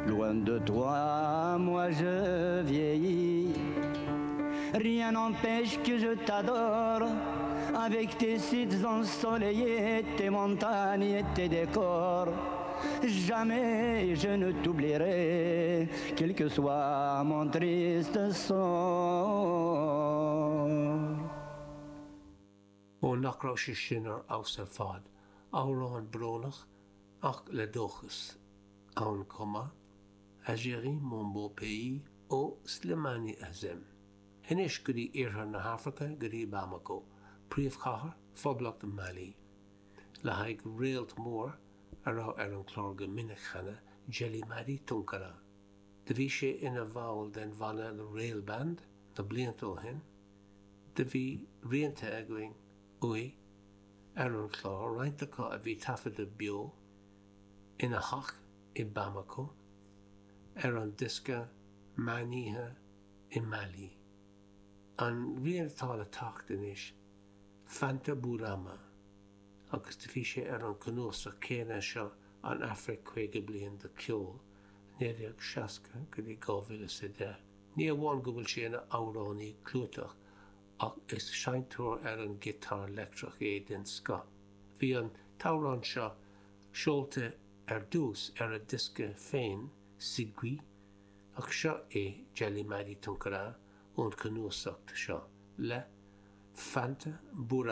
Loin de toi, moi je vieillis. Rien n'empêche que je t'adore avec tes sites ensoleillés, tes montagnes et tes décors. Jamais je ne t'oublierai, quel que soit mon triste sort. Ó nach raibh sé sin ar fheabhas ar fad, amhrán brónach ach le dóchas ann chomh maith, Algérie mon beau pays ó Slimane Azem. Anois go dtí iarthar na hAfraice, go dtí Bamako, príomhchathair Phoblacht Mali, le haghaidh réalt mór a raibh ar an chlár go minic cheana, Djeli Mady Toungara. Do bhí sé ina bhall den bhanna The Rail Band na blianta ó shin. Do bhí rianta againn uaidh ar an chlár, roinnt acu a bhí taifeadta beo ina theach i Bamako ar an diosca Meánoíche i Mali. An rian atá le teacht anois, Fanta Bourama, agus do bhí sé ar an cnuasach céanna seo An Afraic 50 Bliain de Cheol, 1960 go dtí 2010. Ní amháin go bhfuil sé ina amhránaí clúiteach ach is seinnteoir ar an ghiotár leictreach é den scoth. Bhí an t-amhrán seo seolta ar dtús ar a dhiosca féin, Sigui, ach seo é Djeli Mady Toungara ón chnuasacht seo le Fanta Bourama.